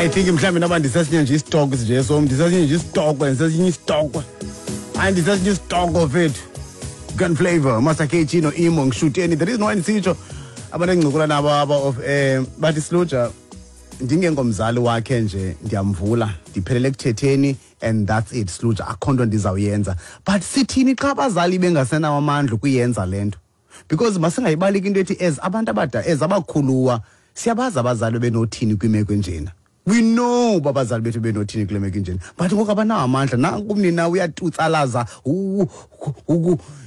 I think mhlawumbi noba ndisesinye nje isitoko nje som, ndisesinye nje isitoko, ndisesinye isitoko. Hayi, ndisesinye isitoko fethu. Gun Flavor, Master KG no Imo ngishuteni. The reason why ndisitsho, abantu engincokola nabo aba of bathi, "Sluja, ndingengomzali wakhe nje, ndiyamvula, ndiphelele ekuthetheni and that's it, Sluja, akho nto ndizawuyenza." But sithini xa abazali bengasenawo amandla ukuyenza le nto? Because masingayibaleki into ethi as abantu abada, as abakhuluwa, siyabazi abazali benothini kwimeko enjena. We know uba abazali bethu benothini kule meko enjena, but ngoku abanawo amandla. Nanku umnina uyatutsalaza.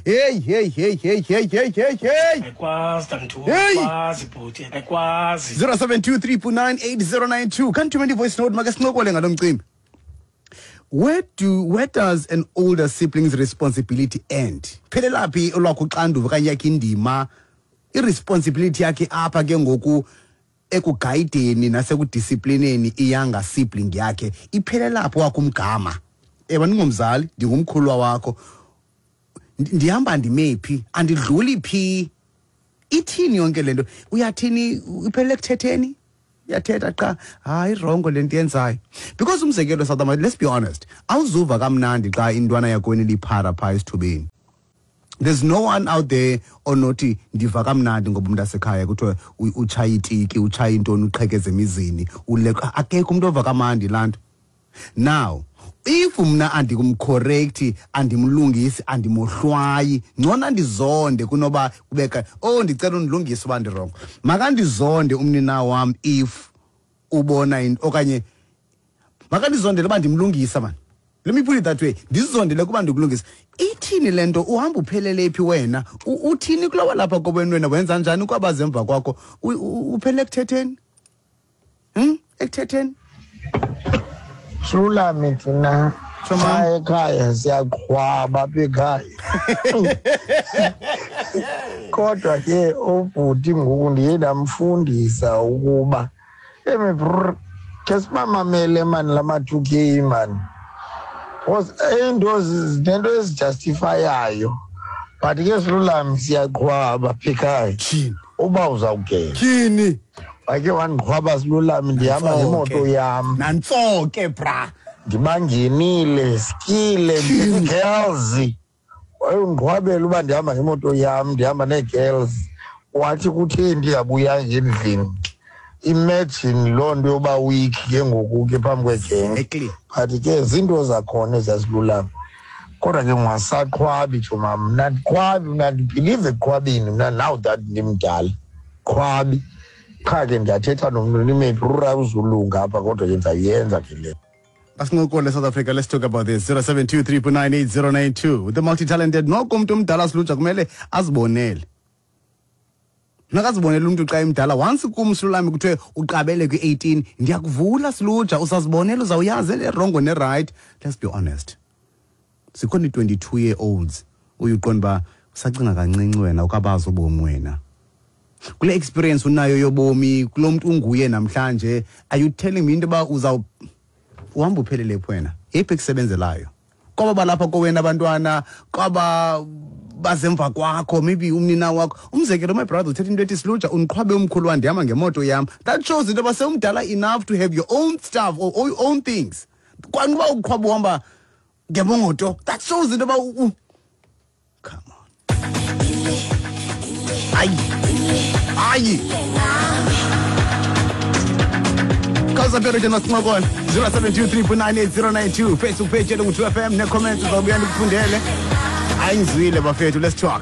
Heyi, heyi, heyi, heyi, heyi, heyi, heyi, heyi! Ayikwazi, Tanthu. Hey! Ayikwazi, bhuti, ayikwazi. 0723989092. Khanithumele i-voice note, make sincokole ngalo mcimbi. Where does an older sibling's responsibility end? Phelelaphi olwakho uxanduva okanye yakhe indima, i-responsibility yakhe apha ke ngoku ekugayideni nasekudisiplineni i-younger sibling yakhe? Iphelelaphi wakho umgama? Ewe, ndingumzali, ndingumkhulwa wakho, ndihamba ndime phi, andidluli phi? Ithini yonke le nto? Uyathini? Iphelele ekuthetheni, uyathetha qha, hayi, i-wrong le nto yenzayo. Because umzekelo, South Africa, let's be honest, awuzuva kamnandi xa intwana yakweni liphara phaa esithubeni. There's no one out there onothi ndiva kamnandi ngoba umntu asekhaya kuthiwa utshaya itiki, utshaya intoni, uqhekeza emizini, uleqa. Akekho umntu ova kamandi laa nto. Now if mna andikumcorrecti, andimlungisi, andimohlwayi, ngcono andizonde kunoba kubeka, "Oh, ndicela undilungise uba ndi-wrong." Makandizonde umnina wam if ubona into, okanye makandizondele uba ndimlungisa mani. Let me put it that way, ndizondele kuba ndikulungisa. Ithini le nto? Uhamba uphelele phi wena? Uthini kulowa lapha kobeni? Wena wenza njani kwabazemva kwakho? Uphelele ekuthetheni, Ekuthetheni. Sulami, thina Tsho, mama. xa ekhaya siyaqhwaba apha ekhaya, kodwa ke ubhuti ngoku ndiye ndamfundisa ukuba emi brr, ke sibamamele mani la ma-2K mani, because into zinento ezijustifyayo. But ke silulami, siyaqhwaba apha ekhaya. Tyhini! Uba uzawugeza, Tyhini! wake wandiqhwaba, silulami, ndihamba Nantso ngemoto ke. yam. Nantso ke, bra. Ndibangenile skile, ndine-girls, wayondiqhwabela uba ndihamba ngemoto yam, ndihamba nee-girls. Wathi kutheni ndingabuyanga endlini? Imagine loo nto yoba weak ke ngoku ke phambi kwegenge. But ke zinto zakhona ezasilulama, kodwa ke ungasaqhwabi joma. Mna ndiqhwabi, mna ndibhilive ekuqhwabini mna. Now that ndimdala, qhwabi qha ke. Ndiyathetha nomntu, ndimephi rura, uzulunga apha, kodwa ke ndizayenza ke le. Asincokole, South Africa. Let's talk about this. 0723989092 with the multi-talented. Noko umntu omdala, silutsha, kumele azibonele. Nakazibonele umntu xa emdala. Once kum, silulami, kuthiwe uqabele kwi-18, ndiyakuvula, silutsha, usazibonela, uzawuyazi e-wrong ne-right. Let's be honest, zikhona i-22 year olds uye uqonda uba usacinga kancinci wena, ukabazi ubomi wena. Kule experience unayo yobomi, kulo mntu unguye namhlanje, are you telling me into yoba uzaw uhamba uphelele phi wena? Yeyiphi ekusebenzelayo kwaba balapha kowena abantwana, kwaba bazemva kwakho, maybe umnina wakho? Umzekelo, my brother uthetha into ethi, "Silutsha, undiqhwabe umkhulu wam, ndihamba ngemoto yam." That shows into yoba sewumdala enough to have your own stuff or your own things. Kwanuba uqhwaba uhamba ngemoto, that shows into yoba come on, hayi, hayi. Khawuzaphela nje, masincokola. 0723989092, Facebook page yethu ngu-2 FM, ne-comments uzawubuya ndikufundele. Hayi, ngizwile bafethu, let's talk.